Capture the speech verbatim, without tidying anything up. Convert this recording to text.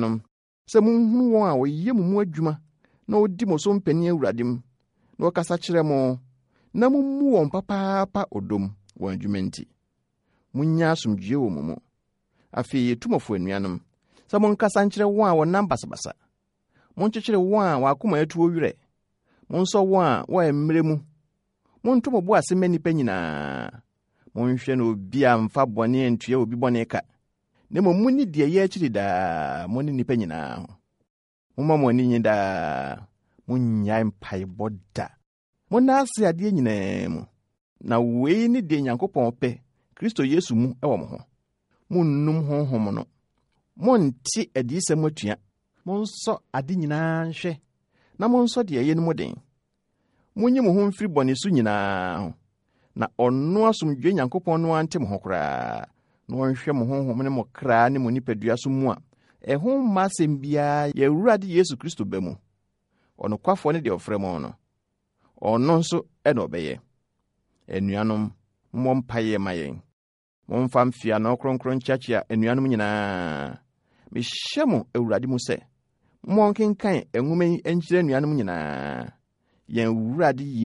Anuanom, sɛ monhunu wɔn a wɔyɛ mo mu adwuma na wodi mo so mpanin Awurade mu, na wɔkasa kyerɛ mo, na mummu wɔn papaapa ɔdɔ mu wɔn adwuma nti. Munnya asomdwoe wɔ mo mu. Afei yetu mo fo anuanom, sɛ monkasa nkyerɛ wɔn a wɔnam basabasa. Monkyekyere wɔn a wɔn akoma atuo werɛ. Monsɔ wɔn a wɔyɛ mmerɛ mu. Monto mo bo ase mma nnipa nyinaa. Monhwɛ na obi amfa bɔne antua obi bɔne ka. Na mmom munni deɛ ɛyɛ akyiri daa mo ne nnipa nyinaa ho. Momma mo ani nnye daa. Monnyae mpaebɔ da. Monna ase adeɛ nyinaa mu. Na wei ne deɛ Nyankopɔn pɛ Kristo Yesu mu wɔ mo ho. Munnum honhom no. Monnte adiyisɛm atua. Monsɔ ade nyinaa nhwɛ na monsɔ deɛ ɛyɛ no mu den. Munyi mo ho mfiri bɔne so nyinaa ho. Na ɔno asomdwoe Nyankopɔn no ante mo ho koraa na ɔnhwɛ mo honhom ne mo kra ne mo nipadua so mu a ɛho mma asɛm biara yɛ Awurade Yesu Kristo ba mu. Ɔnokwafoɔ ne deɛ ɔfrɛ mo no. Ɔno nso ɛna ɔbɛyɛ. Anuanom, mommɔ mpaeɛ ma yɛn. Momfa mfeano kronkron nkyeakyea anuanom nyinaa. Mehyɛ mo Awurade mu sɛ, monkenkan nwoma yi nkyerɛ anuanom nyinaa. Yɛn Awurade